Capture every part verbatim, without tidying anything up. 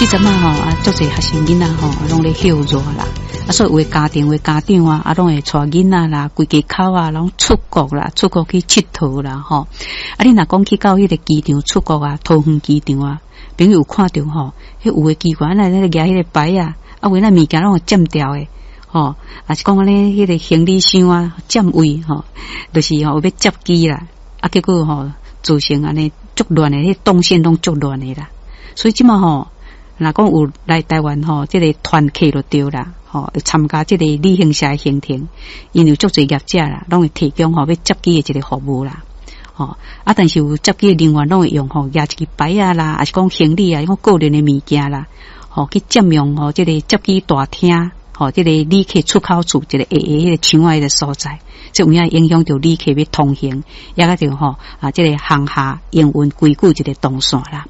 這陣仔吼啊，足濟學生囡仔吼，攏咧歇熱啦。啊，所以有的家庭有的家長啊，啊，攏會帶囡仔啦，規家口啊，攏出國啦，出國去𨑨迌啦，吼。啊，你若講去到彼個機場出國啊，桃園機場啊，朋友有看著吼，彼有的機關來咧舉彼個牌仔，啊，有那物件攏會佔掉的，吼，啊是講按呢，彼個行李箱啊佔位吼，就是吼有欲接機啦，啊，結果吼造成按呢足亂的，彼動線攏足亂的啦。所以這馬吼，若講有來台灣吼，這個團客就對啦，吼，參加這個旅行社的行程，𪜶有足濟業者啦，攏會提供吼欲接機的一個服務啦，吼啊，但是有接機的人員攏會用吼，舉一支牌仔啦，抑是講行李啊，講個人的物件啦，吼去佔用吼這個接機大廳，吼這個旅客出口處一個下下彼個牆仔彼個所在，這有影影響著旅客欲通行，也佮著吼啊，這個航廈營運規矩一個動線啦。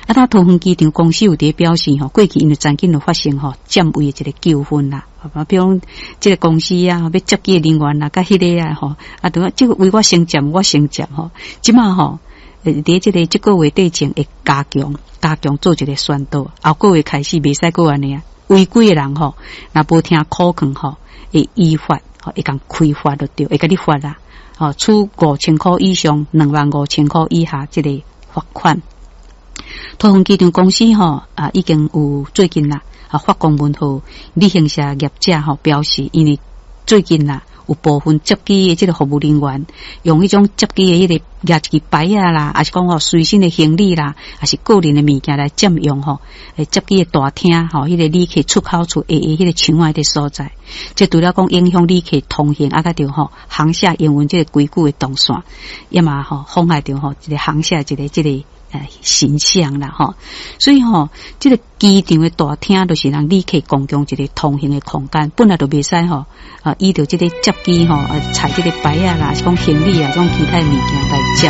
啊，他桃園機場公司有佇表示吼，過去因為曾經有發生吼佔位的一個糾紛啦，啊，比如講這個公司啊，欲接機的人員啊，佮彼個啊吼，啊，對這個位我先佔，我先佔吼，這馬吼，佇這個這個月底前會加強加強做一個宣導，後個月開始袂使閣按呢啊，違規的人吼，若無聽苦勸吼，會依法吼，會共開罰就對，會共你罰啦，吼，處五千箍以上兩萬五千箍以下這個罰款。桃園機場公司吼啊，已經有最近啦啊發公文予旅行社業者吼表示，因為最近啦有部分接機的這個服務人員用彼種接機的彼個舉一支牌仔啦，抑是講吼隨身的行李啦，抑是個人的物件來佔用吼，接機的大廳吼，彼個旅客出口處下下彼個牆仔的所在，這除了講影響旅客通行，啊，佮著吼航廈營運這個規矩的動線，也嘛吼妨礙著吼一個航廈一個這個。呃，形象啦，吼，所以吼，這個機場的大廳就是讓旅客共享一個通行的空間，本來就袂使吼，啊，依著這個接機吼，啊，踩這個牌仔啦，是講行李啊，這種其他的物件來佔。